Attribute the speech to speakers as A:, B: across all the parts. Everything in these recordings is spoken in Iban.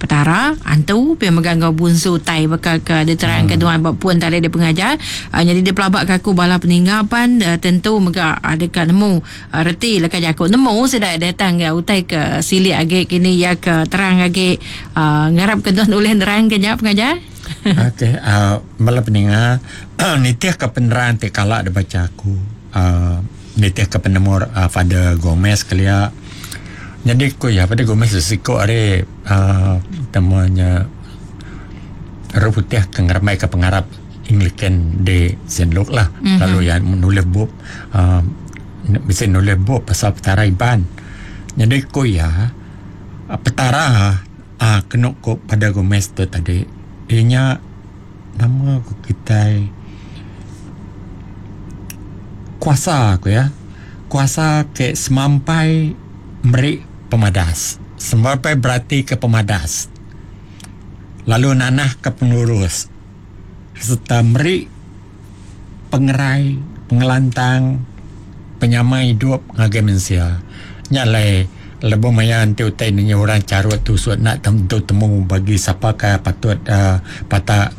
A: Petara, Antu, pia mega enggau Bunsu Utai baka ke diterangka nuan ba pun tadi deh pengajar. Nyadi dipelabaka aku bala peninga pan tentu mega deka nemu reti leka jaku nemu sida datang ga utai ke silik agi kini iya ke terang agi ngarapka nuan ulih nerangka nya pengajar.
B: Okey bala peninga nitihka penerang ti kala dibacha aku nitihka penemu Father Gomez kelia nyadi ku iya Father Gomez siku ari temu nya orang putih ke ngerembaika pengarap Anglican di Saint Luke lah lalu iya nulis bup uhh bisi nulis bup pasal petara Iban. Nyadi ku iya petara uhh kenu ku Father Gomez tu tadi iya nya nama ku kitai kuasa ku iya kuasa ke semampai meri pemadas semampai beratika pemadas lalu nanahka pengelurus. Sereta meri pengerai, pengelantang, penyamai idup ngagai mensia. Nya alai lebuh maya enti utai nengah orang charut tusut enda tentu temu bagi sapa ke patut uhh pata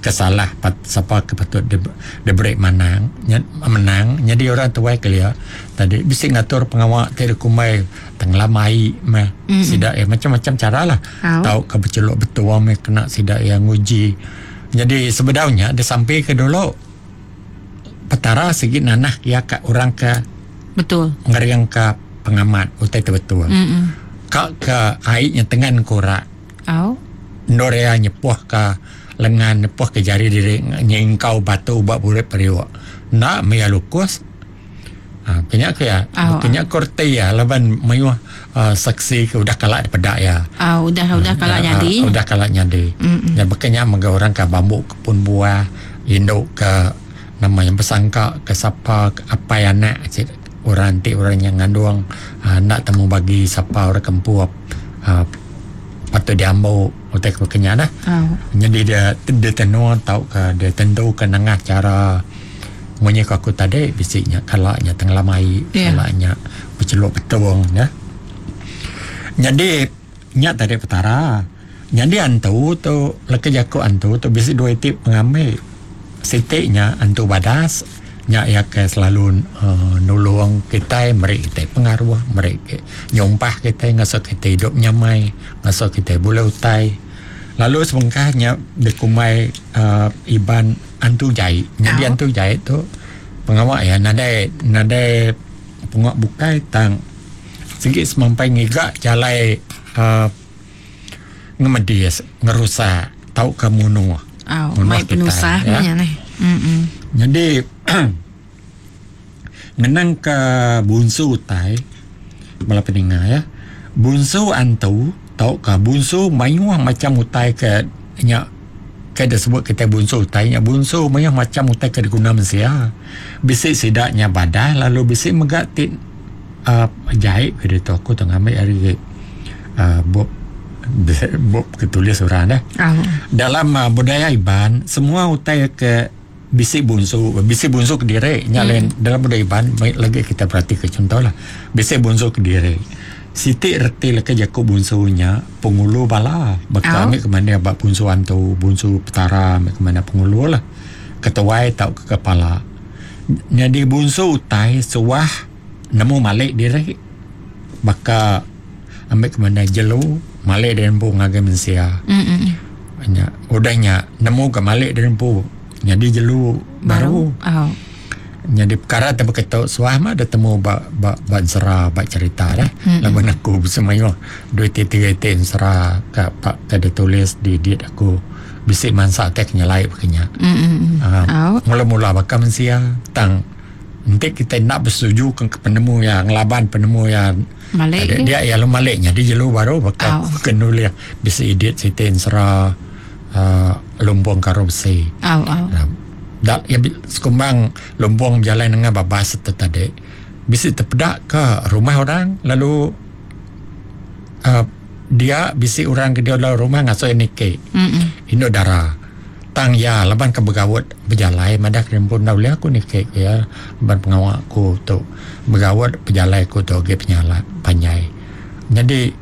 B: ke salah sapa ke patut diberi manang menang nyadi orang tuai kelia tadi bisi ngatur pengawa ti dikumbai tengelam ai meh sida iya macam-macam cara lah. Tauka bechelok betua meh kena sida iya nguji. Nyadi sebedau nya disampi ke dulu Petara sigi nanah iya ka orang ke
A: Betul.
B: Ngering ka pengamat utai ti betul. Ka ke ai nya tengan ke ora.
A: Au.
B: Endur iya nyepuh ka lengan nyepuh ka jari diri nyingkau batu ba burit periuk. Enda meh iya lukus. Ha ke nya ke iya.
A: Au.
B: Ke nya ko reti iya laban mayuh uhh saksi ke udah kala dipeda iya.
A: Au udah udah kala nyadi.
B: Udah kala nyadi. Nya baka nya mega orang ke bambu kepun buah indu ke nama nya besangka ke sapa ke apai anak sida orang ti orang nya ngandung uhh enda temu bagi sapa orang ke empu uhh patut diambu utai ke baka nya lah. Nyadi dia ditenun tauka ditentuka nengah chara. Munyi ku aku tadi bisi nya kala nya tengelam ai kala nya becheluk betung nya. Nyadi nya tadi petara. Nyadi antu tu leka jaku antu tu bisi dua iti pengambi. Siti nya antu badas nya iya ke selalu uhh nulung kitai meri kitai pengaruh meri nyumpah kitai ngasuh kitai idup nyamai ngasuh kitai bulih utai. Lalu sebengkah nya dikumbai uhh Iban. Antu jai. Nyadi antu jai tu pengawa iya nadai nadai pengawa bukai tang sigi semampai ngiga jalai uhh ngemedis ngerusak tauka munuh.
A: Au mai penusah meh nya neh.
B: Nyadi ngenang ka bunsu utai bala peninga iya bunsu antu tauka bunsu mayuh macam utai ke nya ke disebut kitai bunsu utai nya bunsu mayuh macam utai ke diguna mensia. Bisi sida nya badah lalu bisi mega ti uhh jai ke ditu aku tu ngambi ari uhh bup bup ke tulis orang deh. Dalam budaya Iban semua utai ke bisi bunsu bisi bunsu kediri nya lain dalam budaya Iban lagi kita beratika chunto lah bisi bunsu kediri. Siti reti leka jaku bunsu nya pengulu bala baka ami ke mandi ba bunsu antu bunsu petara ami ke mandi pengulu lah ketuai tauka kepala. Nyadi bunsu utai suah nemu malik diri baka ami ke mandi jelu malik diri empu ngagai mensia. Nya udah nya nemu ga malik diri empu nyadi jelu baru. Nyadi pekara ti baka tu suah mah deh temu ba ba ba ensera ba cherita deh. Laban aku bisi mayuh duit ti tiga iti ensera ka pa ka ditulis di edit aku bisi mansa ti ke nyelai baka nya. Aaa mula mula baka mensia tang enti kitai enda besetuju ke penemu iya ngelaban penemu iya dia iya lalu malik nyadi jelu baru baka ke nulih bisi edit siti ensera aaa lumbung karung besi. Da iya sekumbang lumbung bejalai nengah babas tu tadi bisi tepeda ka rumah orang lalu uhh dia bisi orang ke diau dalam rumah ngasuh iya niki indu dara tang iya laban ke begaut bejalai madah ke empu enda ulih aku niki ku iya laban pengawa aku tu begaut pejalai aku tu agi penyala panjai nyadi.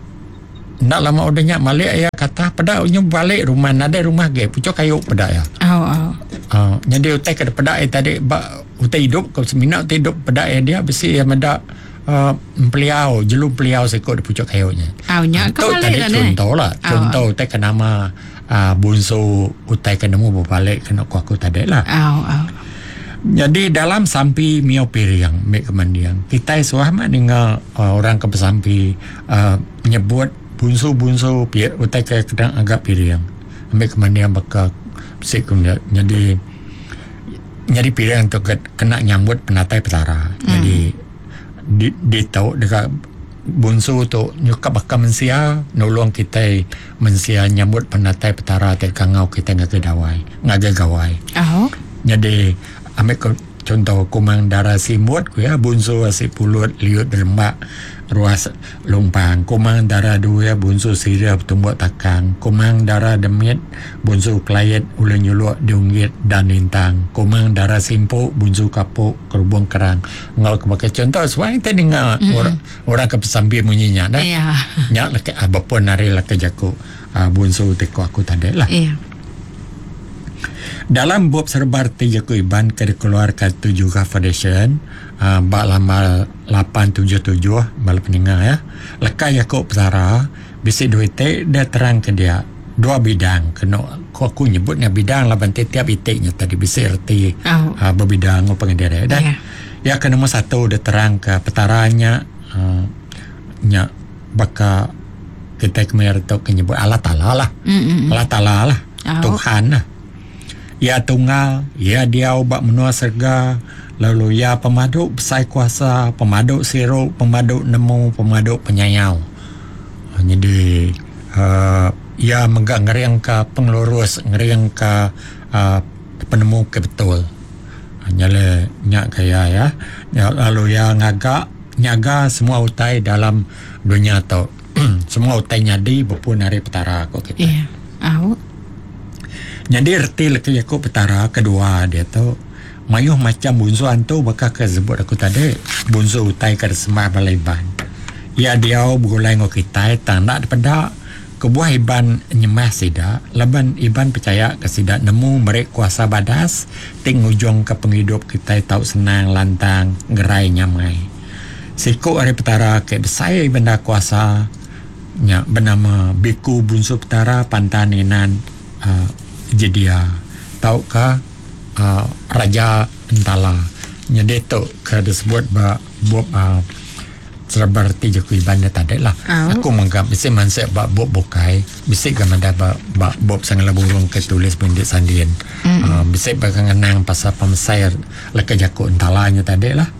B: Enda lama udah nya malik iya kata peda nyu balik rumah nadai rumah agi puchok kayu peda iya.
A: Oh, oh.
B: Uh, nyadi utai ke peda iya tadi ba utai idup ke semina utai idup peda iya dia bisi iya meda uh, empeliau jelu empeliau siko di puchok kayu nya.
A: Oh, nya ke
B: Tu
A: balik
B: tadi
A: lah neh.
B: contoh lah,
A: Oh,
B: contoh utai ke nama uh, bunsu utai ke nemu bebalik kena ku aku tadi lah.
A: Oh, oh.
B: Nyadi dalam sampi mio piring mik ke mending kitai suah mah ninga uh, orang ke besampi uh, nyebut bunsu-bunsu pi utai ke kena ngaga piring ambi ke mending baka bisi ku nyadi nyadi piring tu ke kena nyambut penatai petara. Nyadi di ditu deka bunsu tu nyukap baka mensia nulung kitai mensia nyambut penatai petara ti kangau kitai ngagai dawai ngagai gawai.
A: Oh.
B: Nyadi ambi ke chunto Kumang Dara Simbut ku iya bunsu asi pulut liut derembak ruas lumpang. Kumang Dara Duir bunsu sirih betumbuk takang. Kumang Dara Demit bunsu kelait ulih nyuluk diunggit dan lintang. Kumang Dara Simpu bunsu kapuk kerubung kerang. Enggau ke baka chunto suah kitai ninga mm-hmm. orang ke besampi munyi nya dah.
A: Yeah.
B: Nya leka bepun ari leka jaku bunsu ti ku aku tadi lah.
A: Yeah.
B: Dalam bup serba reti jaku Iban ke dikeluarka Tujuh Foundation uh, ba lambar 877 bala peninga ya. Leka jaku petara bisi dua iti dia terang ke dia dua bidang kena ku aku nyebutnya bidang laban tiap iti nya tadi bisi reti
A: Oh.
B: uh, bebida enggau pengendiri dah.
A: Yeah.
B: Ya ke nombor satu dia terang ke petara nya uh, nya baka kita kemaya tu ke nyebut Allah Taala lah.
A: Mm-mm.
B: Allah Taala lah.
A: Oh.
B: Tuhan lah. Ia tunggal, ia diau ba menua serega, lalu ia pemadu besai kuasa, pemadu siru, pemadu nemu, pemadu penyayau. Jadi uh, ia mega ngering ke pengelurus, ngering ke uh, penemu ke betul. Nyale nya kaya ya. Lalu ia ngaga nyaga semua utai dalam dunia tu. Semua utai nyadi bepun ari petara ko kita.
A: Yeah. Au.
B: Jadi reti leka jaku petara kedua dia tu mayuh macam bunsu antu baka ke sebut aku tadi bunsu utai ke disembah bala Iban. Ia diau begulai enggau kitai tang enda dipeda kebuah Iban nyembah sida laban Iban pechaya ke sida nemu meri kuasa badas ti ngujungka pengidup kitai tau senang lantang gerai nyamai. Siku ari petara ke besai bendar kuasa nya benama Biku Bunsu Petara Pantan Inan uh, Jedia tauka uh, Raja Entala. Jadi tu ke disebut ba bup uh, serba reti jaku Iban dia tadi lah.
A: Oh.
B: Aku menganggap bisi mansik ba bup bukai, bisi ga madah ba, ba bup Sangala Burung ke tulis Bendit Sandin. Mm. Bisi ba ngenang pasal pemesai leka jaku Entala nya tadi lah.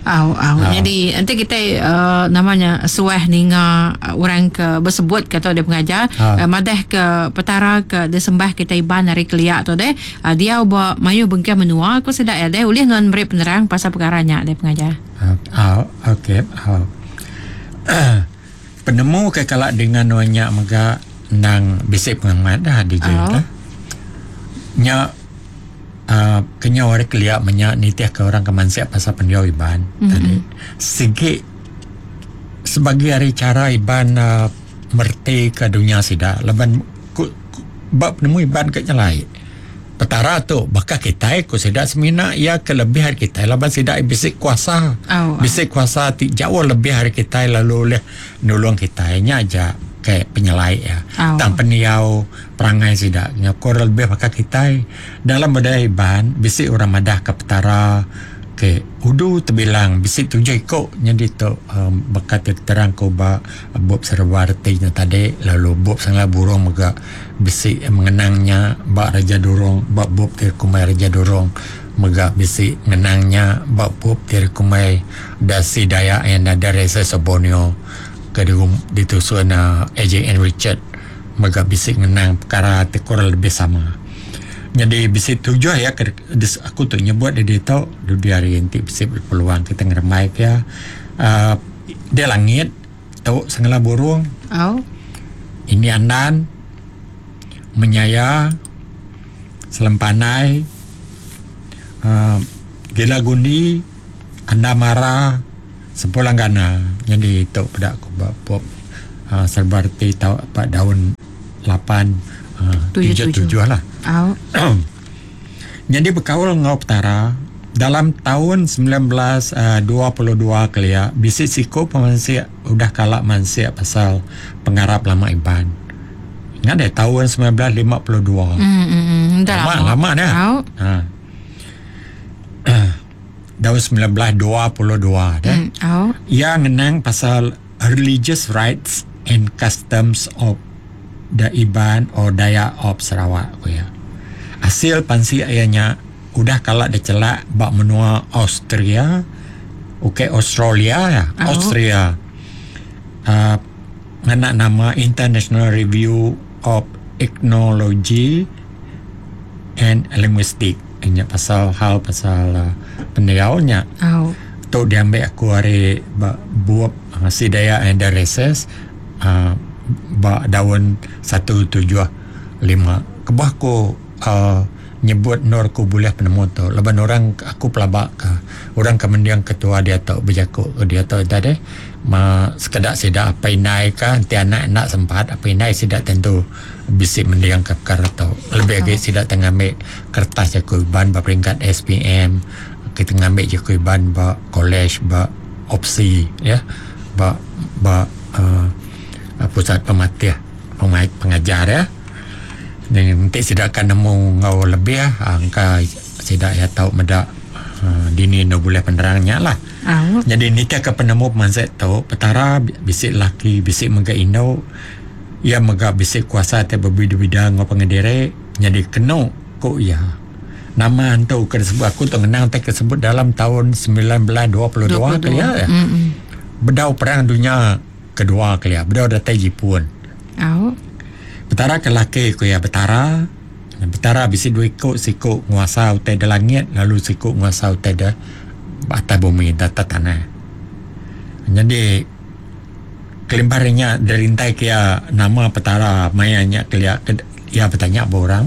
A: Au, au. Jadi nanti kita uh, namanya suah ninga uh, orang ke bersebut kata dia pengajar
B: Ha.
A: uh, madah ke petara ke disembah kita Iban hari keliak tu deh. Uh, dia ba mayu bengkah menua aku sedak ya deh ulih nuan beri penerang pasal perkara nya deh pengajar.
B: Ah, okey. Ah. Penemu ke kalak dengan nuan nya mega nang bisi pengamat dah DJ
A: Oh.
B: dah. Nya uh, kenyau hari keliak menyak nitih ke orang ke mansik pasal pendiau Iban mm-hmm. tadi. Sigi sebagai hari cara Iban uh, merti ke dunia sida laban ku, ku, bab penemu Iban ke nyelai. Petara tu bakal kita ku sida semina ia kelebihan kita laban sida bisi kuasa.
A: Oh, oh.
B: Bisi kuasa ti jauh lebih hari kita lalu oleh nulung kita nya aja ke penyelai ya.
A: Oh.
B: Tang peniau perangai sida nya kurang lebih bakal kita dalam budaya Iban bisi orang madah ke petara ke udu terbilang bisi tujuh ikok nya tu um, bakal terang ko ba bup serba reti nya tadi lalu bup sangla burung mega bisi mengenangnya ba Raja Durong ba bup ti kumai Raja Durong mega bisi mengenangnya ba bup ti kumai Dasi Dayak yang ada Resa Borneo ke ditusun uh, AJN Richard mega bisi ngenang perkara ti kurang lebih sama. Jadi bisi tujuh ya ke, aku tu nyebut dia dia tu di hari nanti bisi peluang kita ngeremai ke ya. Uh, dia langit tu sengala burung
A: Au.
B: ini andan menyaya selempanai uh, gila gundi anda mara sempulang gana. Jadi tu pada aku bab uh, serba reti tau pa daun 8 7 7 lah.
A: Au.
B: Nyadi bekaul enggau Petara dalam taun 1922 kelia bisi siku pemansik udah kala mansik pasal pengarap lama Iban. Ingat deh taun 1952.
A: Mm, mm, mm. Dah
B: Lama
A: lama.
B: lama dah.
A: Au.
B: Ha. Tahun 1922 dah.
A: Au.
B: Ia ngenang pasal religious rites and customs of the Iban or Dayak of Sarawak ku iya. Asil pansik iya nya udah kala dicelak ba menua Austria, ukai Australia ya,
A: Au.
B: Austria. Uh, ngena nama International Review of Ethnology and Linguistics. Nya pasal hal pasal uh, pendiau nya.
A: Au.
B: Tu diambil aku hari ba bup uh, Sea Dayak and the Races uh, ba daun 175. Kebuah aku uh, nyebut nur aku boleh penemu tu. Laban orang aku pelabak ke orang ke mendiang ketua dia tu berjaku ke dia tu tadi ma sekedak sida apa indai ka enti anak nak sempat apa indai sida tentu bisi mendiang ke perkara tu. Lebih lagi sida tengah ambil kertas jaku Iban ba peringkat SPM, kita ngambil jaku Iban ba college ba opsi ya ba ba uh, pusat pematih pengajar ya. Dan nanti sida akan nemu ngau lebih angka sida ya tau meda uh, dini no boleh penerangnya lah.
A: Au.
B: Jadi nitih ke penemu pemansik tu, petara bisi laki, bisi mega indu, ia mega bisi kuasa ti berbida-bida ngau pengendiri, jadi kenu ku ia. Nama antu ke disebut aku tu ngenang te kesebut dalam tahun 1922 ke ya.
A: Mm.
B: Bedau perang dunia kedua ke ya, bedau datai Jepun.
A: Au.
B: Petara ke laki ku ya betara. Betara bisi dua ikut, siku nguasa utai di langit, lalu siku nguasa utai di atas bumi, di atas tanah. Jadi kelimparnya derintai kia nama petara mayanya kelia ke, ia bertanya ba orang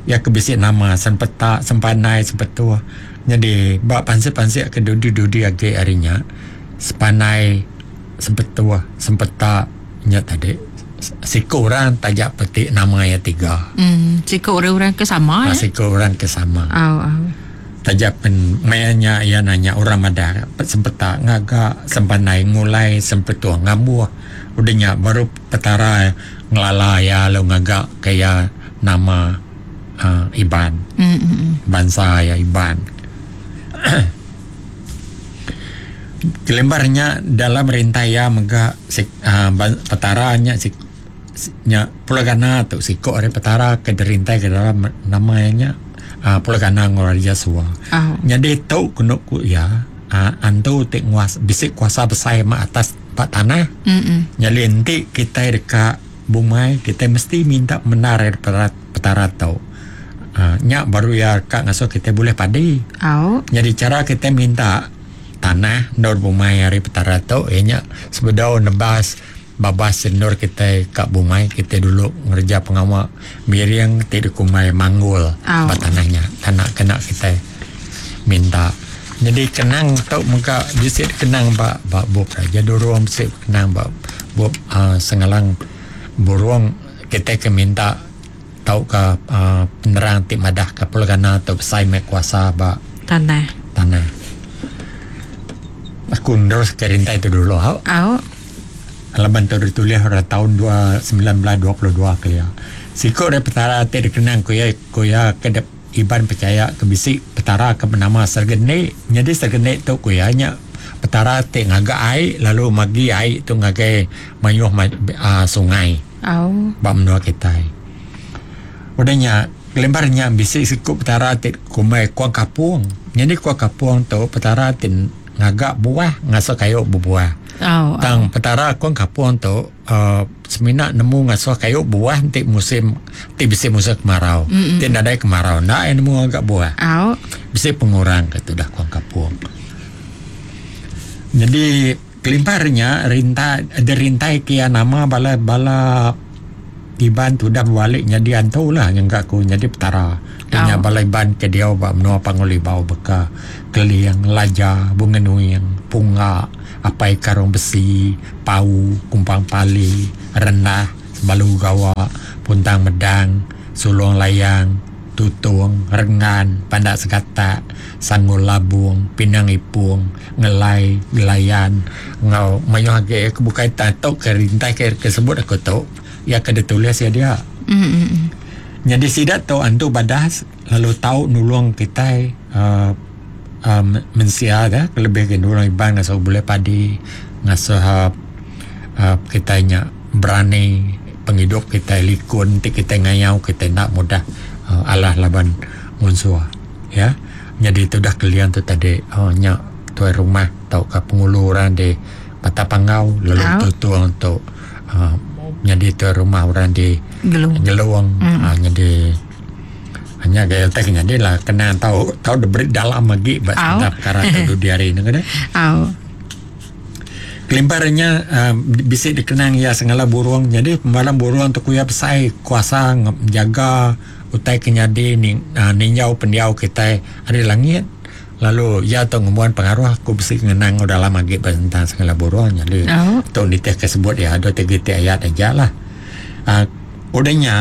B: ya ke bisi nama sempeta sempanai sempetua. Jadi ba pansik-pansik ke dudi-dudi agi harinya sepanai sempetua sempeta nya tadi siku orang tajak petik nama ya tiga.
A: Siku orang-orang ke sama
B: Ha,
A: ya.
B: siku orang ke sama.
A: Au au.
B: Tajak pen mayanya ia nanya orang madah sempeta ngaga sempanai ngulai sempetua ngambuh. Udahnya baru petara ngelala ya lalu ngaga kaya nama uh, Iban. Bangsa ya Iban. Kelembarnya dalam rintai ya mega sik, uh, petaranya sik, nya pulagana tu siko ari petara ke derintai ke dalam namanya uh, pulagana ngoraja sua.
A: Au.
B: Jadi tu kena ku ya uh, antu ti nguas bisik kuasa besar ma atas pak tanah. Jadi nanti kita dekat bumai kita mesti minta menar dari petara, petara tu. Uh, nya baru ya kak ngasuh kita boleh padi.
A: Au.
B: Jadi cara kita minta tanah nur bumai hari petara tu ianya sebedau nebas babas senur kita kat bumai kita dulu ngerja pengawak miring ti dikumai manggul
A: Au.
B: ba tanahnya tanah kena kita minta. Jadi kenang tu muka bisik kenang ba ba bup raja durung bisik kenang ba bup uh, sengalang burung kita ke minta tau ke uh, penerang ti madah ke pulgana tu besai mek kuasa ba
A: Tanah.
B: tanah. Aku terus ke rintai tu dulu. Hau.
A: Au.
B: Laban tu ditulis pada tahun 1922 ke ya. Siku dari petara ti dikenang ku ya ku ya ke dep, Iban percaya ke bisi petara ke bernama Sergenik. Jadi Sergenik tu ku ya nya petara ti ngaga air lalu magi air tu ngagai mayuh uh, sungai.
A: Au.
B: Ba menua kita. Udahnya kelembarnya bisi siku petara ti kumai kuang kapung. Jadi kuang kapung tu petara ti ngagak buah ngasuh kayu berbuah.
A: Au.
B: Tang petara kuang kapung tu uh, semina nemu ngasuh kayu buah ti musim ti bisi musim kemarau. Ti nadai kemarau nak nemu ngagak buah.
A: Au.
B: Bisi pengurang ke tu dah kuang kapung. Jadi kelimparnya rintai ada rintai kia nama bala bala Iban tu dah balik jadi antu lah yang kat aku jadi petara. Punya
A: Oh.
B: bala Iban ke dia ba menua Pangulibau beka Keliang, Laja, Bunga Nuing, Pungga, Apai Karung Besi, Pau, Kumpang Pali, Rendah, Sebalu Gawa, Puntang Medang, Sulung Layang, Tutung, Rengan, Pandak Segatak, Sanggul Labung, Pinang Ipung, Ngelai, Gelayan enggau mayuh agi ke bukai tang tu ke rintai ke ke sebut aku tu iya ke ditulis iya dia. Nyadi sida tu antu badas lalu tau nulung kitai uhh uhh mensia ke kelebih agi nulung Iban ngasuh bulih padi ngasuh uhh kitai nya berani pengidup kitai likun ti kitai ngayau kitai enda mudah alah laban munsuh ya. Nyadi tudah Keling tu tadi uhh nya tuai rumah tauka pengulu orang di Batang Panggau lalu Tutong tu uhh nyadi tuai rumah orang di Gelong uhh nyadi nya ga utai ke nyadi lah kena tau tau diberi dalam agi ba sentang pekara tu dudi hari ne keh. Kelimpah ari nya uhh bisi dikenang iya sengala burung nyadi pemalam burung tu ku iya besai kuasa njaga utai ke nyadi ninjau pendiau kitai ari langit lalu iya tu ngembuan pengaruh ku bisi ngenang enggau dalam agi ba sentang sengala burung nyadi tu nitih ke sebut iya dua tiga iti ayat aja lah uhh udah nya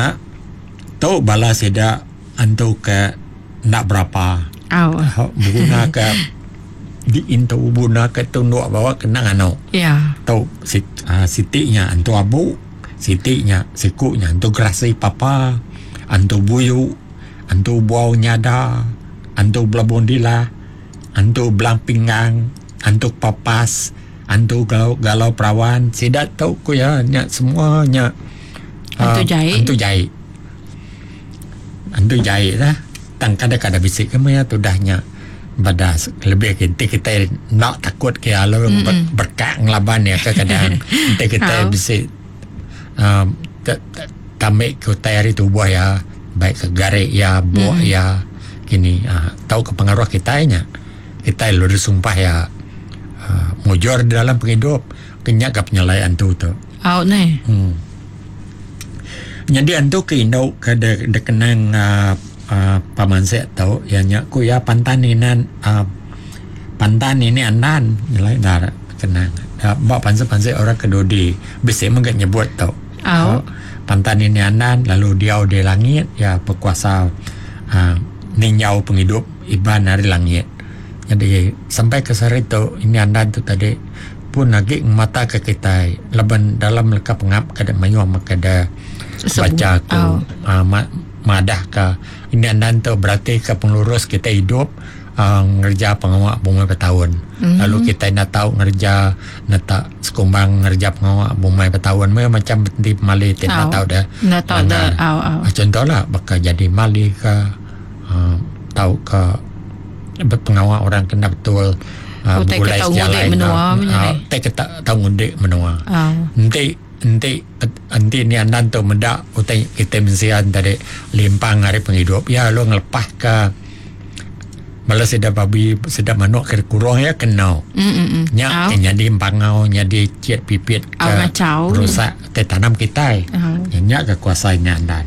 B: tu bala sida antu ke enda berapa beguna ke diintu beguna ke tunduk bawa kena nganu. Tu siti nya antu abu, siti nya siku nya antu gerasi papa, antu buyu, antu buau nyada, antu belabung dilah, antu belang pinggang, antu papas, antu galau galau perawan. Sida tu ku iya nya semua nya
A: Antu jai.
B: Antu jai. Antu jai lah. Tang kada-kada bisi ke maya tudah nya badas lebih ke enti kitai enda takut ke lalu berkak ngelaban iya ke kadang enti kitai bisi uhh tambi ke utai ari tubuh iya baik ke gari iya buk iya kini uhh tau ke pengaruh kitai nya kitai lalu disumpah iya uhh mujur dalam pengidup ke nya ga penyelai antu tu.
A: Au neh.
B: Uhh. Nyadi antu ke indu ke dikenang uhh pemansik tu iya nya ku iya pantan inan uhh pantan ini andan nyelai enda kenang ba pansik-pansik orang ke dudi bisi mega nyebut tu.
A: Au.
B: Pantan ini andan lalu diau di langit iya bekuasa uhh ninjau pengidup Iban ari langit. Nyadi sampai ke sehari tu ini andan tu tadi pun agi ngemata ke kitai laban dalam leka pengap ke dek mayuh meka dek bacha aku uhh madah ka ini andan tu berati ka pengelurus kitai idup uhh ngereja pengawa bumai betaun lalu kitai enda tau ngereja netak sekumbang ngereja pengawa bumai betaun meh macam enti pemali ti enda tau deh langgar. Contoh la baka jadi mali ka uhh tauka pengawa orang ke enda betul.
A: Utai ke
B: begulai
A: tau ngudik
B: sejalai
A: menua
B: enggau
A: menya
B: ah,
A: deh.
B: utai ke tau ngudik menua.
A: Ah.
B: Enti enti enti ni andan tu meda utai kitai mensia ne tadi limpang ari pengidup iya lalu ngelepah ka bala sida babi sida manok ke dikurung iya ke eno.
A: Mm
B: Nya
A: Au.
B: ke nyadi empangau nyadi chit pipit
A: Au
B: ke
A: ngachau.
B: rusak utai tanam kitai.
A: Au.
B: Nya ke kuasa nya andan.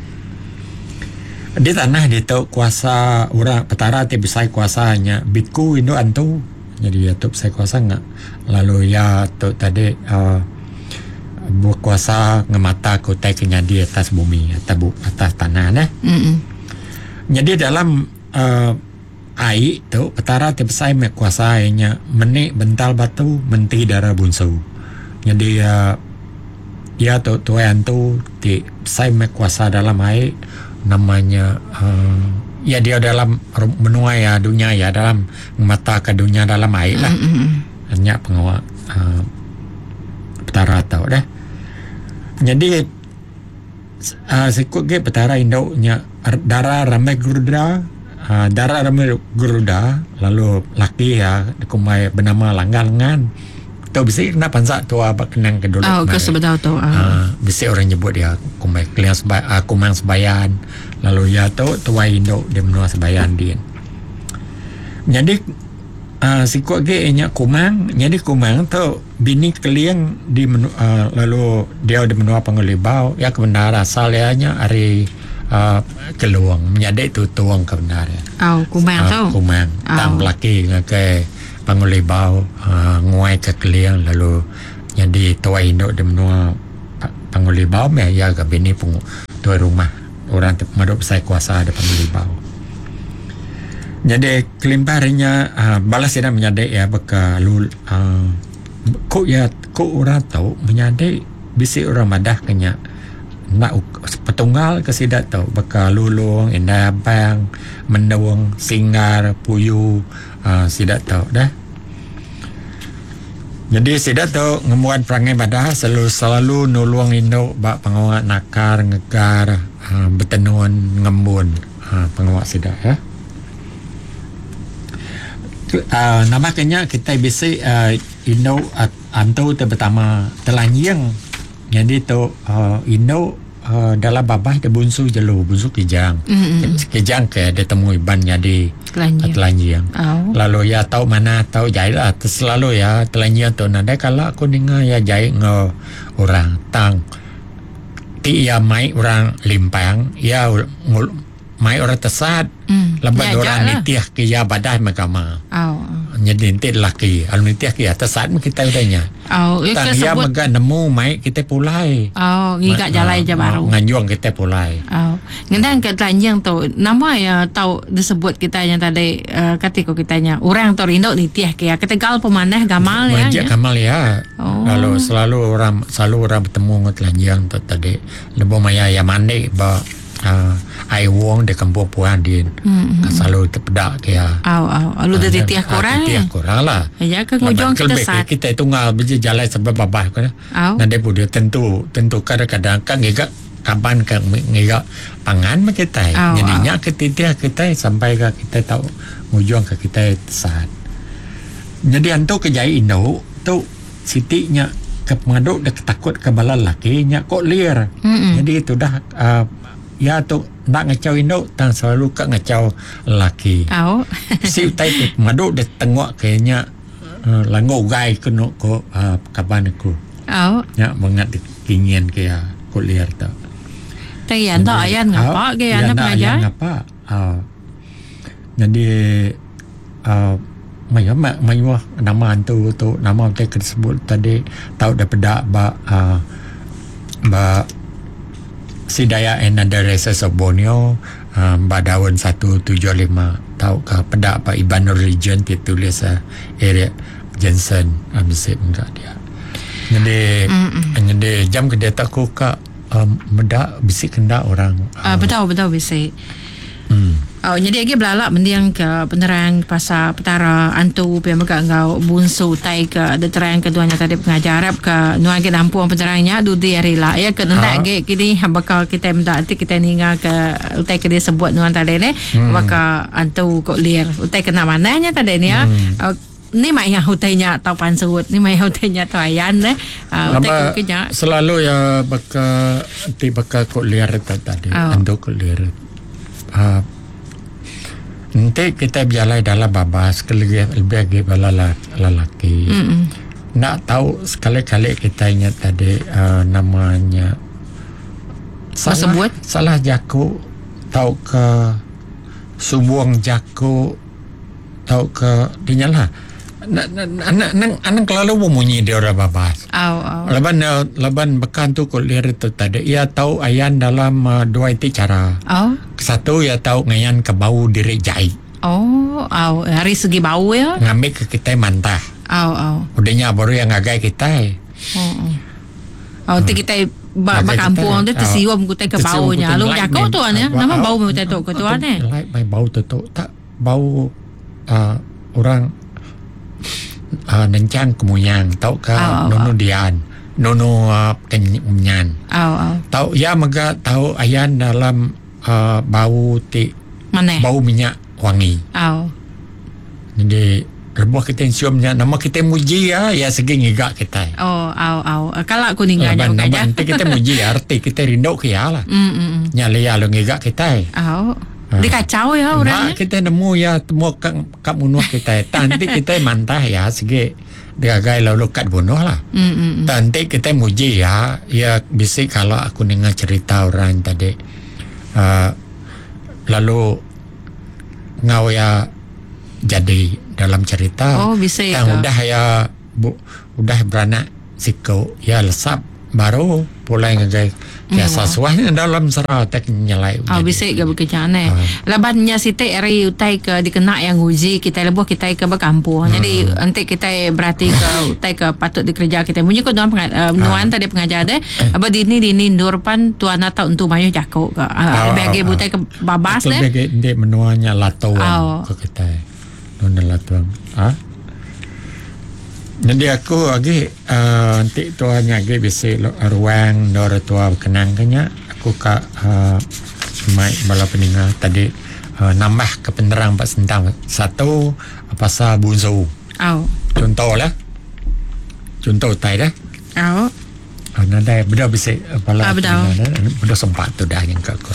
B: Di tanah ditu kuasa orang petara ti besai kuasa nya biku indu antu. Nyadi iya tu besai kuasa nga lalu iya tu tadi uhh bekuasa ngemata ke utai ke nyadi atas bumi atas bu atas tanah neh. Nyadi dalam uhh ai tu petara ti besai meh kuasa iya nya meni bental batu menti dara bunsu. Nyadi uhh Iya tu tuai antu ti besai meh kuasa dalam ai nama nya uhh iya diau dalam menua iya dunya iya dalam ngemata ka dunya dalam ai lah. Nya pengawa uhh petara tu deh. Nyadi uhh siku agi petara indu nya dara rambai geruda uhh dara rambai geruda lalu laki iya dikumbai benama Langgar Lengan. Tu bisi kena pansa tua ba kenang ke dulu
A: Oh, ke
B: kemari.
A: sebedau tu.
B: Ah,
A: Ah.
B: bisi orang nyebut dia kumbai Keling Seba, ah, Kumang Sebayan. Lalu iya tu tuai indu di menua Sebayan din. Nyadi ah, siku agi iya nya Kumang. Nyadi Kumang tu bini Keling di menu, ah, lalu diau di menua Panggau Libau. Iya ke bendar asal iya nya ari ah, Kelong, menyadi Tutong ke bendar iya.
A: Oh, Kumang
B: Ah,
A: tu.
B: Kumang. Tang
A: Oh.
B: belaki ngagai. Panggau Libau uh, nguai ke Keling lalu nyadi tuai indu di menua Panggau Libau meh iya ga bini pung tuai rumah orang ti pemadu besai kuasa di Panggau Libau. Nyadi kelimpah ari nya uh, bala sida menyadi iya baka lu uh, ku iya ku orang tu menyadi bisi orang madah ke nya enda petunggal ke sida tu baka Lulong, Indai Abang, Mendong, Singgar, Puyu uh, sida tu dah. Nyadi sida tu ngembuan perangai madah selalu selalu nulung indu ba pengawa nakar, ngegar, uh, betenun, ngembun uh, pengawa sida ya. Uh, nambah ke nya kitai bisi uh, indu uh, antu ti betama telanjing. Nyadi tu uh, indu uh, dalam babah dia bunsu jelu, bunsu kijang. Mm-hmm. Kijang ke dia temu iban nyadi telanjing. telanjing. Oh. Lalu ya tau mana tau jai lah. Selalu ya telanjing tu nadai kala aku ninga ya jai enggau orang tang ti ya mai orang limpang ya mai orang tesat mm. laban ya, orang lah. nitih ke iya badah megama. Oh. Nyadi enti lelaki lalu nitih ke iya tesat meh kita udah nya.
A: Oh,
B: Tang iya mega nemu mai kita pulai.
A: Oh, ngiga jalai je baru.
B: Nganjung kita pulai.
A: Oh. Ngendang ke telanjing tu nama iya tau disebut kita yang tadi uh, kati ko kita nya orang tu rindu nitih ke iya ketegal pemanah gamal
B: ya. Majak gamal ya. Oh. Lalu selalu orang selalu orang bertemu dengan telanjing tu tadi lebuh maya iya mandi ba Uh, ai wong di kampung puan din. Mm-hmm. Selalu terpeda ke ya.
A: Au au. Lalu dia titih kurang.
B: Titih kurang lah.
A: Ya ke ngujung kita sat.
B: Kita tunggal beje jalan sebab babah ko. Nanti pun dia tentu tentu kadang-kadang kan ngiga kaban ke ngiga pangan mah kita. Jadi nya ke titih kita sampai ke kita tahu ngujung ke kita sat. Jadi antu ke jai indu tu Siti nya ke pengadu dek takut ke bala lelaki nya ko lir. Mm-mm. Jadi tu dah uh, ya tu enda ngachau indu tang selalu ka ngachau lelaki.
A: Au.
B: Si utai ti pengadu dek tengok ke nya uh, langgu ugai ke nu ko uh, kaban aku.
A: Au.
B: Nya mengat dikingin ke ya ko lir tu.
A: Tai ya enda ayan ngapa ke ya
B: pengajar. Ngapa. Uh, jadi uh, mayuh mayuh nama antu tu nama utai ke disebut tadi tau da peda ba uh, ba Sea Dayak and Other Races of Borneo uh, ba daun 175 tauka peda ba Iban Religion ti tulis uh, Eric Jensen uh, bisi mega dia. Jadi jadi jam ke diatu aku ka um, meda bisi kenda orang
A: uh, betul betul bisi. Hmm. Oh, jadi agi belala mending ke penerang pasal petara antu pia mega enggau bunsu utai ke diterang ke tuan tadi pengajar arap ke nuan agi nampung penerang nya dudi hari la ya ke nendak ha. agi kini bakal kita meda ti kita ninga ke utai ke disebut nuan tadi ne hmm. baka antu kok lir utai kena manahnya tadi ni ya hmm. Uh, ni maya utai nya tau pansut ni maya utai nya tau ayan ne
B: uh, utai ke nya selalu ya baka ti baka kok lir tadi oh. Antu kok lir. Uh, enti kitai bejalai dalam babas ke lebih lebih agi bala lelaki mm-hmm. enda tau sekali-kali kitai nya tadi uh, nama nya salah
A: Sebut.
B: salah jaku tauka sumbung jaku tauka dinya lah anang anang kelalu bemunyi di orang babas.
A: Au au.
B: Laban laban bekan tu ko lir tu tadi ia tau ayan dalam uh, dua iti cara.
A: Au.
B: Satu ia tau ngayan ke bau diri jai.
A: Oh, au hari segi bau ya.
B: Ngambil ke kitai mantah.
A: Au au.
B: Udah nya baru yang ngagai kitai.
A: Oh. oh. Oh, ti kitai ba, ba kampung tu tersium kutai ke bau nya. Lalu jaku tuan ya. Nama bau utai tu ke tuan eh?
B: Like mai bau tu tu tak bau uh, orang uh, nencang kemuyang tauka
A: Au, au,
B: nunu
A: au.
B: dian nunu uh, kenyan
A: Au, au.
B: tau ya mega tau ayan dalam uh, bau ti
A: Maneh.
B: bau minyak wangi
A: Au.
B: jadi lebuh kita sium nya nama kita muji ya ya segi ngiga kita
A: Oh, au, au. Kalau aku ninggal
B: laban
A: jauh
B: laban
A: aja.
B: nanti kita muji arti kita rindu ke ya lah
A: Mm, mm, mm.
B: nya lia lu ngiga kita
A: Au. Dia kacau ya orang.
B: Nak kita nemu ya temu kat kat bunuh kita. Nanti kita mantah ya segi digagai lalu kat bunuh lah.
A: Mm, mm, mm.
B: Nanti kita muji ya ya bisi kalau aku dengar cerita orang tadi uh, lalu ngau ya jadi dalam cerita.
A: Oh, bisi
B: Tang
A: ke?
B: udah iya bu, udah beranak siku iya lesap baru pulai ngagai biasa suah nya dalam sera tek nyelai
A: Oh, bisi ga bekeja neh. Laban nya siti ari utai ke dikena iya nguji kitai lebuh kitai ke bekampung. Jadi enti kitai berati ke utai ke patut dikereja kitai munyi ko nuan penga, uh, nuan tadi pengajar deh. Aba dini dini endur pan tuan atau entu mayuh jaku ka. Uh, lebih agi butai ke babas deh.
B: Lebih agi enti menua nya Latong
A: Oh.
B: ko kitai. Nunda Latong. Ha? Jadi aku agi uh, enti tua nya agi bisi ruang endur tua bekenang ke nya aku ka uh, mai bala peninga tadi uh, nambah ke penerang ba sentang satu pasal bunsu.
A: Au.
B: Contoh lah. Contoh utai dah.
A: Au.
B: Nadai beda bisi bala
A: Ah, bedau.
B: peninga beda sempat tu dah nyangka aku.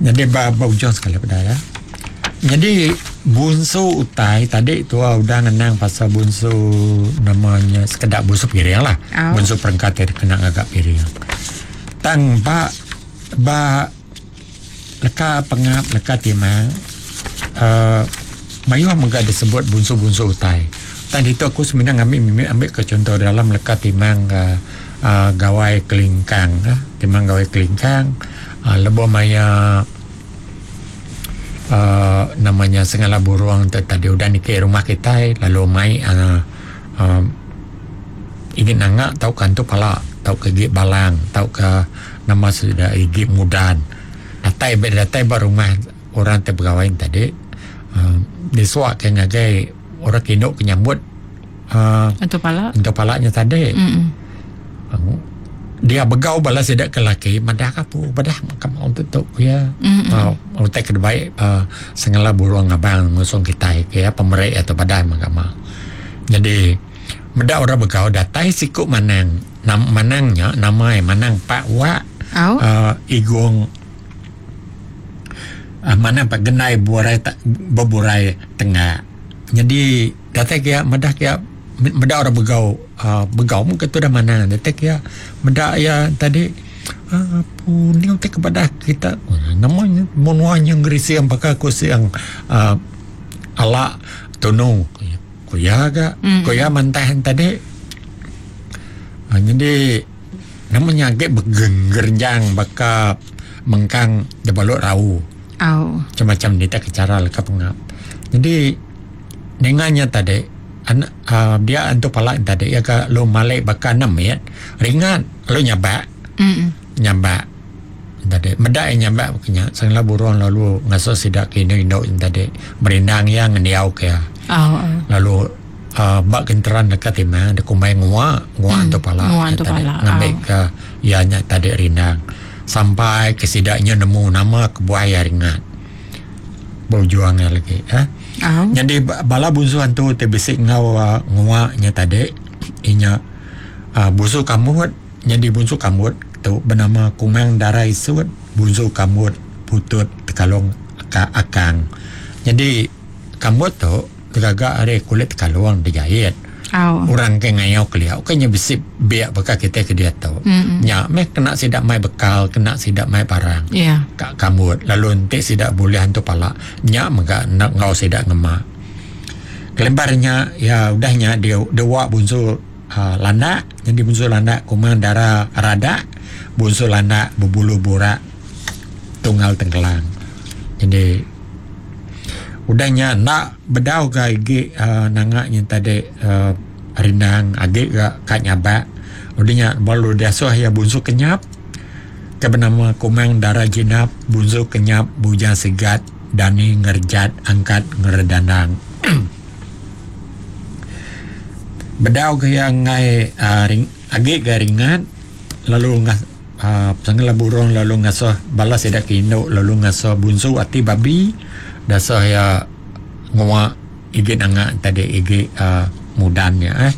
B: Jadi ba, ba ujung sekali beda ya. Jadi bunsu utai tadi tua udah ngenang pasal bunsu namanya sekedak bunsu piring lah.
A: Au.
B: Bunsu perengka ti kena ngaga piring. Tang ba ba leka pengap leka timang uh, mayuh mega disebut bunsu-bunsu utai. Tang ditu aku sebenarnya ngambil mimit ambil ke contoh dalam leka timang uh, uh, gawai kelingkang uh, timang gawai kelingkang uh, lebuh maya uh, namanya sengala burung tadi udah niki rumah kita lalu mai uh, uh, ingin nangak tau kan tu pala tau ke gig balang tau ke nama sudah gig mudan datai datai ba rumah orang te begawai tadi uh, disuak ke ngagai orang kinuk ke nyambut uh,
A: Untuk pala.
B: untuk palanya tadi.
A: Mm.
B: Dia begau bala sidak ke laki madah kapu badah kamu untuk tu ya.
A: Mm.
B: Utai ke baik uh, sengala burung abang ngusung kita ya pemerik atau badah mahkamah. Jadi medak orang begau datai siku manang. Nam, manangnya nama manang Pak Wak
A: Au.
B: uh, Igung uh, manang Pak Genai burai ta, beburai tengah. Jadi datai kia medah kia medak orang begau uh, begau mungkin tu dah mana datai kia medak ya tadi uh, ni utai kepada kita namanya menuanya ngerisi yang bakal aku siang uh, ala tunu kuya ga kuya mantahan tadi uh, jadi namanya agak bergenggerjang bakal mengkang debalok rau
A: Au.
B: macam-macam dia tak cara leka pengap. Jadi dengannya tadi anak uh, dia antu palak tadi ya ke lu malik bakal enam ya ringan lu nyabak
A: Mm.
B: nyabak tadi medak yang nyabak kenya sangla burung lalu ngaso sidak kini induk tadi merindang yang ngendiau ke
A: Au. au.
B: lalu uh, bak kenteran dekat timang dia kumai ngua ngua antu palak
A: ngua antu
B: tadi
A: palak,
B: ngambil
A: au.
B: ke ianya tadi rindang sampai ke sidaknya nemu nama ke buaya ringan berjuang lagi eh
A: Au.
B: jadi bala bunsu hantu te bisik ngau uh, nguaknya tadi inya uh, bunsu kamut jadi bunsu kamut tu bernama Kumang Dara Isut bunsu kamut putut tekalong ka, akang jadi kamut tu tergagak ari kulit tekalong dijahit
A: Au.
B: orang ke ngayau keliau kenya bisik biak bekal kita ke dia tu
A: Mm.
B: nya meh kena sidak mai bekal kena sidak mai barang
A: Ya.
B: kak kamut lalu nanti sidak boleh hantu palak nyak mega nak ngau sidak ngemak kelembarnya ya udahnya dia dia wak bunsu uh, landak jadi bunsu landak kumang darah radak bunsu landak berbulu burak tunggal tenggelam jadi udahnya nak bedau ke igi uh, nangaknya tadi uh, rindang agik ke kat nyabak udahnya baru dia suah ya bunsu kenyap ke bernama Kumang Dara Jinap bunsu kenyap bujang segat dani ngerjat angkat ngeredandang bedau ke yang ngai uh, ring, agik ke ringan lalu ngas uh, sangla burung lalu ngasuh balas sidak ke induk lalu ngasuh bunsu ati babi dasah ya nguak igit angak tadi igit uh, mudannya eh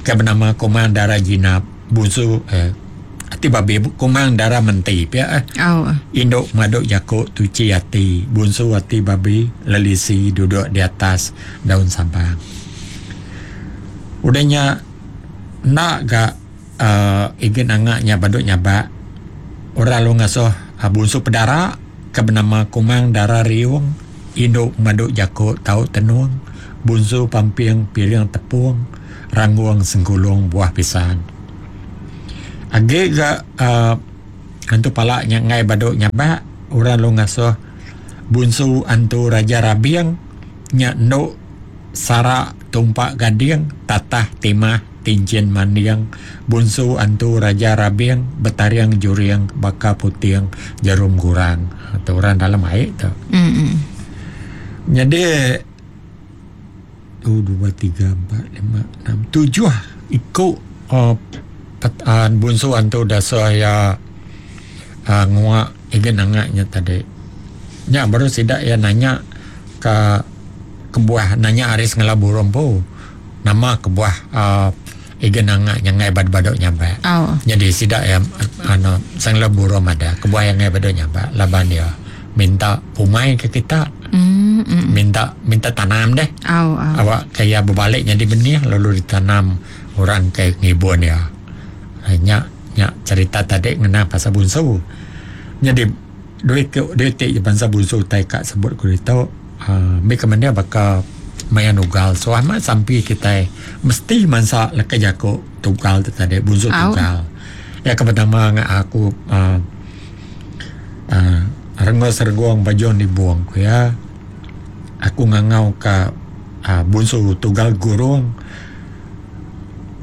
B: ke bernama Kumang Dara Jinap bunsu eh ati babi Kumang Dara Menti pia eh
A: Au.
B: Induk maduk jakuk tuci hati bunsu hati babi lelisi duduk di atas daun sabang. Udahnya nak gak uh, igin angaknya baduk nyabak orang lu ngasuh uh, bunsu pedara ke bernama Kumang Dara Riung induk maduk jakuk tau tenung Bunsu pamping piring tepung ranggung sengkulung buah pisang. Agi ga uhh antu pala nya enggai badu nyabak orang lalu ngasuh Bunsu Antu Raja Rabing nya endu sara tumpa gading tatah timah tinchin manding Bunsu Antu Raja Rabing betaring juring baka puting jarum gurang. Tu orang dalam ai tu. Nyadi satu dua tiga empat lima enam tujuh iku uhh bunsu antu dasuh iya uhh ngua iga nanga nya tadi. Nya baru sida iya nanya ka kebuah nanya ari sengala burung empu nama kebuah uhh iga nanga nya enggai badu badu nyabak. Nyadi sida iya anu sengala burung madah kebuah iya enggai badu nyabak laban iya minta umai ke kita minta minta tanam deh awak ke iya bebali nyadi benih lalu ditanam orang ke ngibun iya. Nya nya cerita tadi ngena pasal bunsu. Nyadi duit tu duit ti bansa bunsu utai ka sebut ku ditu uhh mih ke mending baka maya nugal suah mah sampi kitai mesti mansa leka jaku tugal tu tadi bunsu tugal. Iya ke pertama aku uhh uhh rengus regung bajung nibung ku iya aku ngangau ka uhh bunsu tugal gurung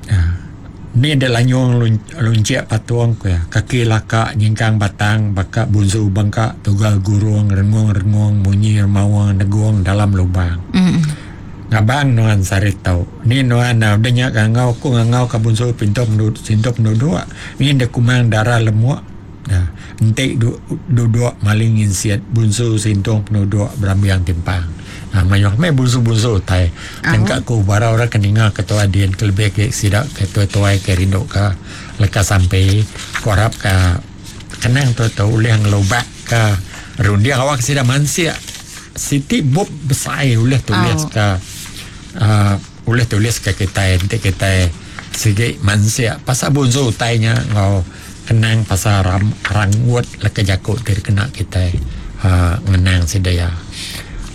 B: uhh ni deh lanyung lunchik patung ku iya kaki laka nyingkang batang baka bunsu bengka tugal gurung rengung rengung munyi remaung negung dalam lubang. Ngabang nuan sehari tu ni nuan udah nya ngangau ku ngangau ka bunsu pintu sintu penduduk ni deh kumang dara lemuk. Enti duduk maling nginsit bunsu sintung penuduk berambing timpang. Mayuh meh bunsu-bunsu utai. Nengka ku bara orang ke ninga ketua din ke lebih agi sida ke tuai-tuai ke rindu ka leka sampi ku arap ka kenang tu tu ulih ngelubak ka runding awak sida mansik siti bup besai ulih tulis ka uhh ulih tulis ka kitai enti kitai sigi mansik pasal bunsu utai nya enggau Kenang pasal ram ranggut leka jaku ti dikena kitai uhh ngenang sida iya.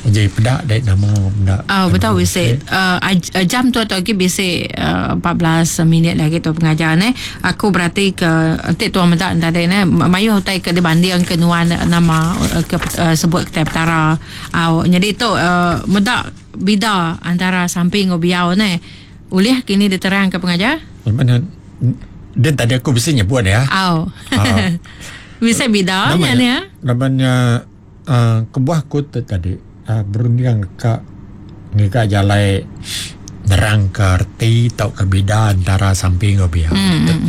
B: Uji peda dek nama menda.
A: Au betul bisi uhh jam tu atu agi bisi uhh 14 minit agi tu pengajar neh. Aku berati ke enti tuan meda ne tadi neh mayuh utai ke dibanding ke nuan nama ke sebut kitai petara. Au nyadi tu uhh meda bida antara sampi enggau biau neh. Ulih kini diterang ke pengajar?
B: Din tadi aku bisi nyebut ya.
A: Au. Bisi bida nya ni ya.
B: Laban nya uh, kebuah aku tu tadi uh, berunding ka ngiga jalai nerang ke erti tauka bida antara sampi enggau biau. Mm.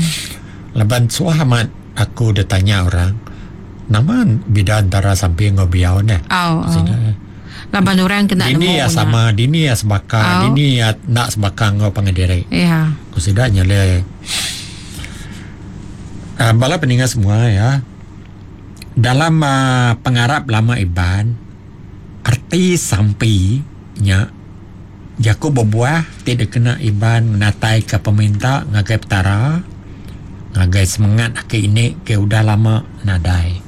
B: Laban suah amat aku ditanya orang nama bida antara sampi enggau biau neh.
A: Au. au. Laban orang kena
B: nemu. Dini ya sama, dini ya sebaka, dini ya enda sebaka enggau pangan diri.
A: Ya.
B: Ku sida nyelai. Uh, bala peninga semua ya. Dalam uh, pengarap lama Iban, arti sampi nya jaku bebuah ti dikena Iban ngenataika peminta ngagai Petara, ngagai semengat aki ini ke udah lama nadai.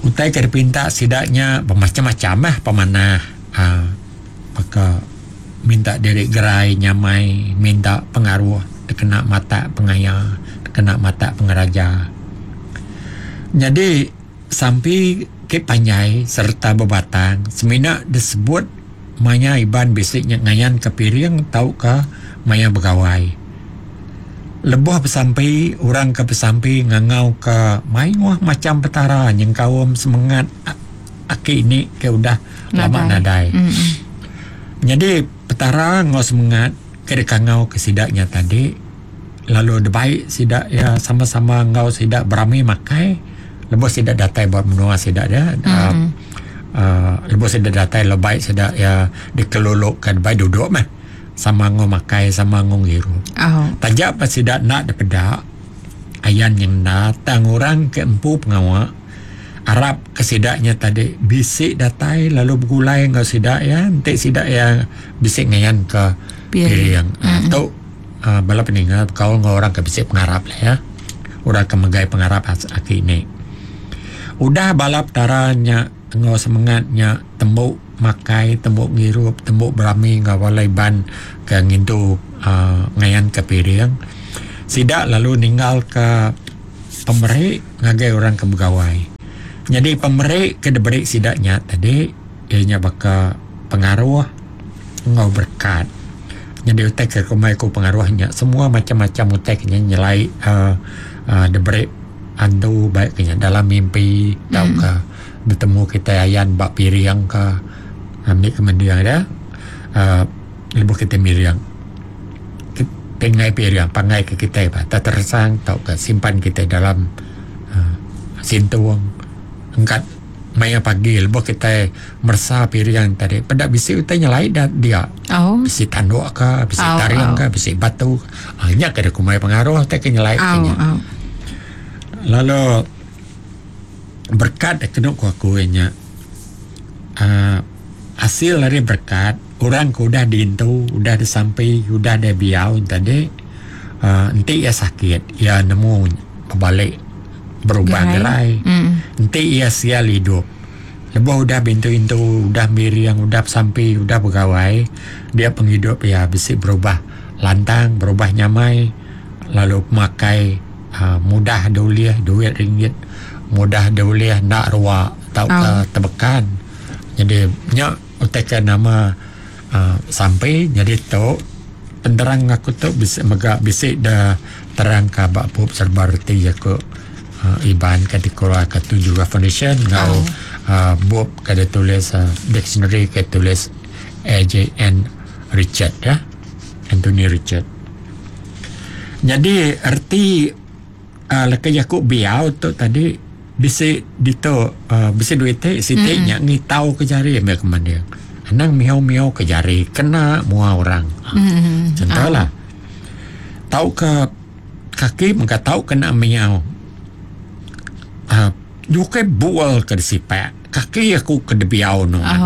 B: Utai ke dipinta sida nya bemacham-macham meh pemanah uhh baka minta diri gerai nyamai, minta pengaruh dikena matak pengaya, dikena matak pengeraja. Nyadi sampi ke panjai sereta bebatang semina disebut maya Iban bisi nya ngayanka piring tauka maya begawai. Lebuh besampi, orang ke besampi ngangauka mayuh macham petara nyengkaum semengat aki ini ke udah lama nadai. Nyadi petara enggau semengat ke dikangauka sida nya tadi lalu dibai sida iya sama-sama enggau sida berami makai lebuh sida datai ba menua sida dia uhh lebuh sida datai lalu bai sida iya dikeluluka dibai duduk meh. Sama enggau makai sama enggau ngirup.
A: Oh.
B: Taja pa sida enda dipeda ayan nyengenda tang orang ke empu pengawa arap ke sida nya tadi bisi datai lalu begulai enggau sida iya enti sida iya bisi ngayan ke piring. Mm-hmm. Tu uh, bala peninga bekaul enggau orang ke bisi pengarap lah ya. Orang ke megai pengarap aki ini. Udah bala petara nya enggau semengat nya tembu. makai, tembu ngirup, tembu berami enggau bala Iban ke ngintu uhh ngayanka piring, sida lalu ninggalka pemeri ngagai orang ke begawai. Nyadi pemeri ke diberi sida nya tadi iya nya baka pengaruh enggau berekat. Nyadi utai ke kumbai ku pengaruh nya semua macam-macam utai ke nyelai uhh diberi antu ba ke nya dalam mimpi tauka betemu kitai ayan ba piring ka ambi ke mending ida uhh lebuh kitai miring. Pingai piring pangai ke kitai ba teteresang tauka simpan kitai dalam uhh sintung engkat maya pagi lebuh kitai meresa piring tadi peda bisi utai nyelai da dia. Bisi tanduk ka bisi taring ka bisi batu ka nya ka kumbai pengaruh ti ke nyelai ke nya. Lalu berkat da kenu ku aku nya uhh asil ari berkat orang ke udah diintu udah disampi udah dibiau tadi uhh enti iya sakit iya nemu bebali berubah gerai. Enti iya sial idup lebuh udah beintu-intu udah miring udah besampi udah begawai dia pengidup iya bisi berubah lantang berubah nyamai lalu pemakai uhh mudah diulih duit ringgit mudah diulih enda rua tauka tebekan. Jadi nya utai ke nama uhh sampi nyadi tu penerang aku tu bisi mega bisi da terang ka ba bup serba reti jaku uhh Iban ke dikeluarka Tujuh Foundation enggau uhh bup ke ditulis uhh dictionary ke ditulis AJN Richard ya Anthony Richard. Nyadi reti uhh leka jaku biau tu tadi bisi ditu uhh bisi duit ti siti nya ngitau ke jari meh ke manding. Anang miau-miau ke jari kena mua orang. Contoh lah. Tauka kaki mega tau kena miau uhh nyukai bul ke disipak kaki aku ke dibiau nuan.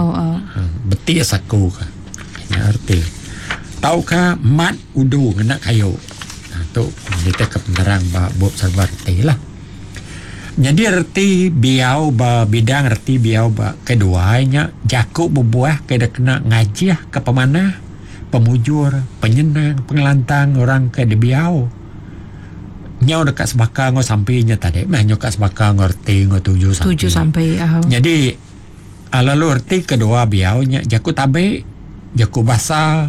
B: Betis aku ka. Nya reti. Tauka mat udu ngena kayu. Tu nitihka penerang ba bup serba reti lah. Nyadi reti biau ba bidang reti biau ba kedua nya jaku bebuah ke dikena ngajihka pemanah, pemujur, penyenang, pengelantang orang ke dibiau. Nyau deka sebaka enggau sampi nya tadi meh nyau ka sebaka enggau reti enggau tuju sampi.
A: Tuju sampi au.
B: Nyadi lalu reti kedua biau nya jaku tabi, jaku basa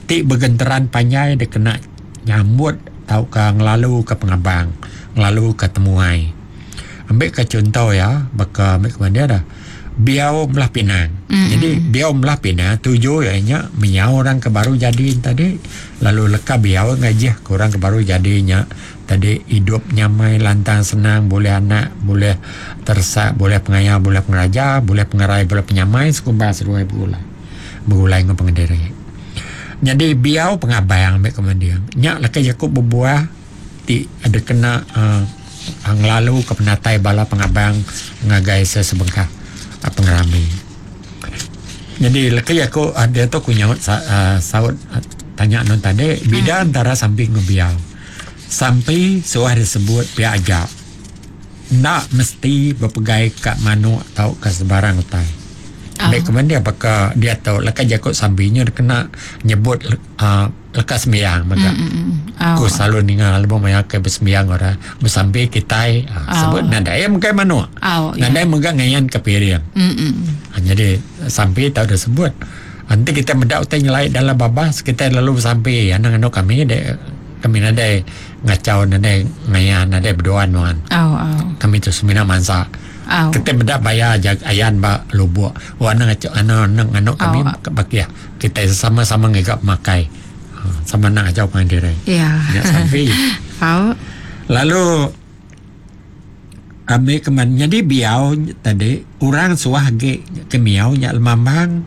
B: ti begenteran panjai dikena nyambut tauka ngelaluka pengabang, ngelaluka temuai. Ambika chunto iya baka ambi ke mandi dah biau belah pinang. Jadi biau belah pinang tuju iya nya menyau orang ke baru jadi tadi lalu leka biau ngajih ke orang ke baru jadi nya tadi idup nyamai lantang senang bulih anak bulih teresak bulih pengaya bulih pengeraja bulih pengerai bulih penyamai sekumbang seduai begulai begulai enggau pengediri. Nyadi biau pengabang ambi ke mending nya leka jaku bebuah ti dikena uhh ngelalu ke penatai bala pengabang ngagai sesebengkah pengerami. Nyadi leka jaku diatu ku nyaut uhh saut tanya anu tadi bida entara sampi enggau biau. Sampi suah disebut pia aja enda mesti bepegai ka manuk tauka sebarang utai. Enda ke mending baka diatu leka jaku sampi nya dikena nyebut uhh leka sembiang mega. Ku selalu ninga lebuh maya ke besembiang orang besampi kitai uhh sebut nadai megai manuk. Nadai mega ngayan ke piring. Nyadi sampi tau disebut. Enti kitai meda utai nyelai dalam babas kitai lalu besampi anang anu kami de kami nadai ngachau nadai ngaya nadai beduan nuan. Kami tu semina mansa. Kitai meda baya aja ayan ba lubok wak anang ngachau anang anu kami bakih kitai sama sama ngiga pemakai sama anang ngachau pangan diri. Nya sampi. Lalu Ambi ke man nyadi biau tadi orang suah agi ke miau nya lemambang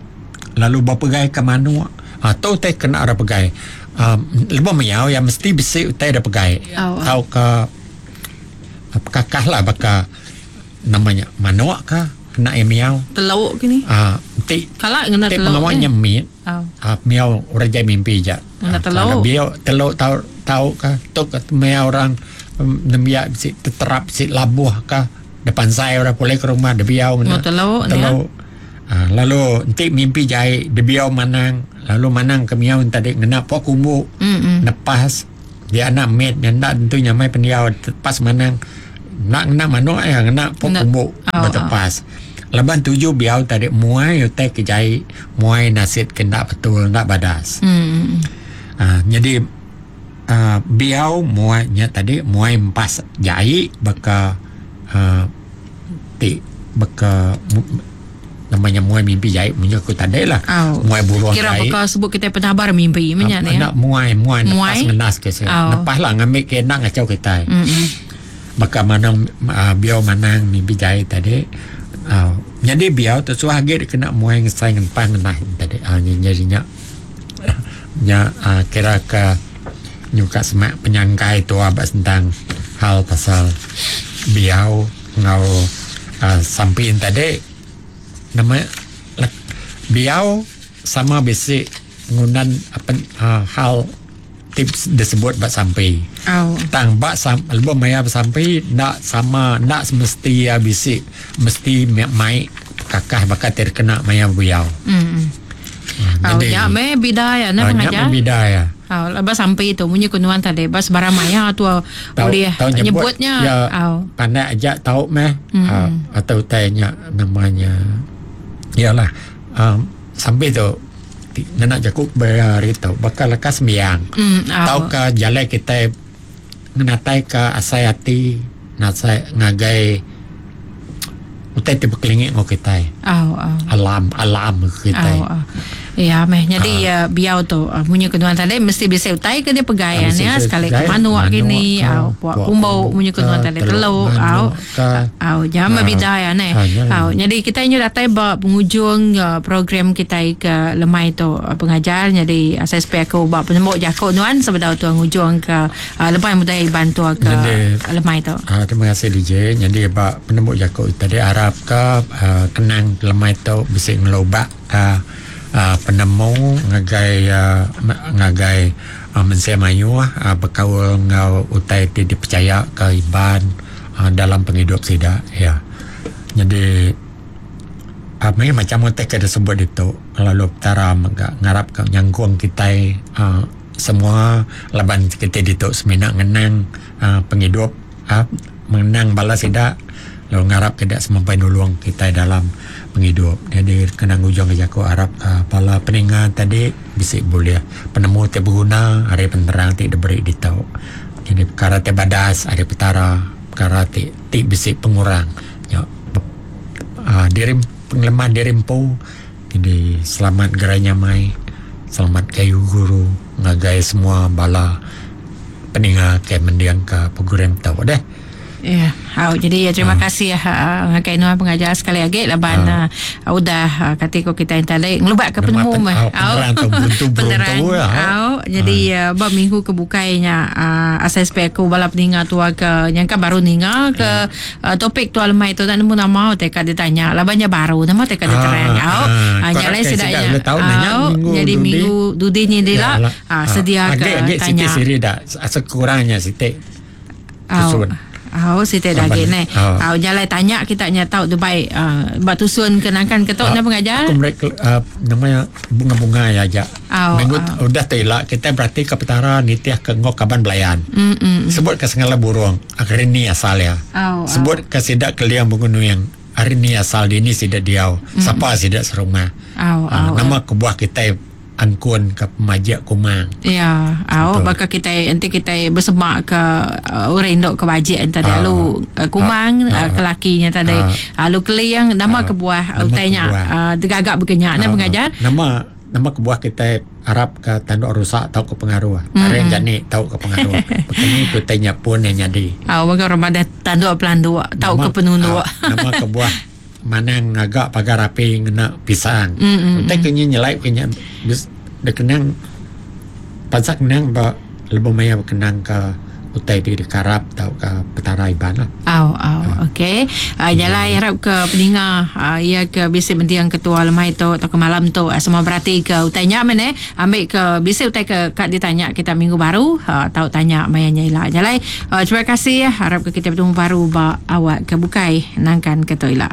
B: lalu bepegai ke manuk uhh tu utai kena ra pegai uhh lebuh miau iya mesti bisi utai da pegai tauka pekakah lah baka nama nya manuk ka kena iya miau.
A: Teluk kini.
B: Uhh enti
A: Kala ngena
B: enti
A: teluk
B: pengawa
A: eh.
B: nya mit
A: Uhh
B: miau orang jai mimpi ja.
A: Ngena teluk.
B: Biau teluk tau tau ka tu ka miau orang. Nembiak bisi teterap bisi labuh ka depan sai orang pulai ke rumah dibiau ngena
A: teluk
B: teluk. Ha, lalu enti mimpi jai dibiau manang lalu manang ke miau tadi ngena pok kumbu mm-hmm. nepas dia anak mit nya enda tentu nyamai pendiau tepas manang enda ngena manuk ya ngena pok kumbu oh, betepas. Oh. Laban tuju biau tadi muai utai ke jai muai nasit ke enda betul enda badas. Mm-hmm. Ha, jadi uh, biau muai nya tadi muai empas jai baka uh, ti baka nama nya muai mimpi jai munyi aku tadi lah
A: oh.
B: muai burung
A: kira
B: jai.
A: Baka sebut kita penabar mimpi menya ni
B: nak muai muai nepas ngenas ke saya oh. Nepas lah ngambil ke nak ngacau kita mm-hmm. Baka manang uh, biau manang mimpi jai tadi uh, jadi biau tu suah agi kena muai ngesai ngenpas ngenah tadi uh, jadi nya nya uh, kira ke nyuka semak penyangkai tua ba sentang hal pasal biau enggau uh, sampi tadi nama biau sama bisi ngundan apa uh, hal tips disebut ba sampi.
A: Oh.
B: Tang ba sam, lebuh maya besampi ndak sama ndak semesti ya bisi mesti mai kakah baka ti kena maya biau.
A: Mm.
B: Hmm,
A: Oh, ya me bida ya na
B: Ah, nya
A: pengajar.
B: meh bida ya.
A: Oh, lepas sampai tu munyi ku nuan tadi bas barang maya tu boleh
B: tau nyebut,
A: nyebutnya.
B: Ya,
A: Oh.
B: pandai aja tau meh mm. uh, atau utainya namanya iyalah um, sampai tu ngena jaku berari tu bakal lekas sembiang
A: Mm, oh.
B: tau ke jalai kita ngenatai ke asai hati nasai ngagai utai ti berkelingi ngau kita
A: Oh, oh.
B: alam alam kita
A: Oh, oh. Ya meh jadi uh, biau tu uh, munyi ku nuan tadi mesti bisa utai ke dia pegai
B: Ah,
A: ya
B: mesti
A: ya
B: bisa
A: sekali
B: pegai.
A: ke manuk
B: Manuk
A: gini
B: ke,
A: au puak
B: puak
A: kumbu
B: kumbu
A: munyi ku nuan
B: ke,
A: tadi
B: teluk
A: teluk
B: manuk
A: au
B: ke.
A: au jam
B: Ah.
A: bida ya ne
B: Ah, ya.
A: au jadi kita ini datai ba penghujung uh, program kita ke lemai tu uh, pengajar jadi uh, saya spare aku ba penembuk jakuk nuan sebedau tu ngujung ke uh, lepai budaya Iban tu ke
B: Jadi-
A: lemai tu
B: Ah, terima kasih DJ. Jadi ba penemu jakuk tadi harap ke uh, kenang lemai tu bisa ngelobak ke uh, penemu ngagai uh, ngagai uh, mensia mayu uh, berkaul ngau utai ti dipercaya ke Iban uh, dalam penghidup sida ya. Jadi apa ni macam utai ke disebut itu lalu petara mega ngarap ke nyangkung kita uh, semua laban kita ditu semina ngenang uh, penghidup uh, mengenang bala sida lalu ngarap tidak semampai nulung kita dalam penghidup jadi kena ujung ke jaku harap uh, bala peninga tadi bisik boleh penemu ti berguna hari penerang ti diberi ditau jadi perkara ti badas hari petara perkara ti ti bisik pengurang ya uh, diri pengeleman diri empu jadi selamat gerai nyamai selamat kayu guru ngagai semua bala peninga ke mendiang ke program tau deh
A: Ya, yeah. jadi ya, terima kasih ya ngagai nuan pengajar sekali lagi laban uh. uh, udah uh, kata ko kita yang tadi ngelubat ke
B: Nama
A: penemu
B: pen-
A: meh.
B: oh, penerang tu, beruntu-
A: Penerang.
B: beruntu lah.
A: Au, jadi uh, ba minggu ke bukainya uh, asai spek aku bala peninga tua ke nyangka baru ninga ke uh, topik tua lemai tu tak nemu nama teka ditanya labannya baru nama teka diterang.
B: Ah,
A: Au,
B: ah.
A: uh,
B: Korang
A: nyalai
B: ke
A: sedaknya.
B: sidak boleh tahu nanya
A: Au,
B: minggu
A: jadi
B: dudi.
A: minggu dudi ni dia
B: Ya
A: lah. Ah, sedia ke
B: agak agak
A: tanya.
B: sikit siri dah sekurangnya sikit
A: Au.
B: tusun.
A: Au siti dah
B: Laban-
A: gini.
B: Au.
A: Au jalai tanya kita nya tahu tu baik uh, bak tusun kenangkan ketok
B: Ah,
A: na pengajar.
B: Aku mereka uh, namanya bunga-bunga ya aja.
A: Au,
B: Minggu
A: au.
B: udah telak kita berarti ke petara nitiah ke ngok kaban belayan.
A: Mm mm.
B: Sebut ke segala burung, hari ni asal ya.
A: Au, au.
B: Sebut ke sidak keliang bunga nuyang, hari ni asal dini sidak diau. Siapa sidak serumah.
A: Au,
B: Ah,
A: au.
B: nama kebuah kita angkun ke pemajak kumang.
A: Ya, au
B: Betul.
A: baka kita nanti kita bersemak ke uh, orang induk ke bajik entah
B: Ah.
A: lalu uh, kumang
B: Ah.
A: uh, ke lakinya tadi.
B: Ah.
A: Lalu keliang nama kebuah
B: Nama
A: utainya
B: kebuah.
A: uh, tergagak berkenyak na
B: Ah,
A: pengajar.
B: Nama nama kebuah kita harap ke tanduk rusak tau ke pengaruh. Mm-hmm. Hari jani tau ke pengaruh. Begini kutanya pun yang jadi.
A: Au baka Ramadan tanduk pelanduk tau ke penunduk.
B: ah, nama kebuah manang ngagak pagar api ngena pisang.
A: Mm, mm,
B: Utai kenya nyelai kenya bis dia kenang pansak kenang ba lebih maya kenang ke utai di dikarap tau ke petara iban lah.
A: Au, au, okey. Uh, jalai harap ke peninga uh, ia ke bisi mendiang ketua lemai tu atau ke malam tu uh, semua berarti ke utainya men eh ambil ke bisi utai ke kat ditanya kita minggu baru uh, tau tanya mayanya ila. Jalai uh, terima kasih ya harap ke kita bertemu baru ba awak ke bukai nangkan ke tu ila.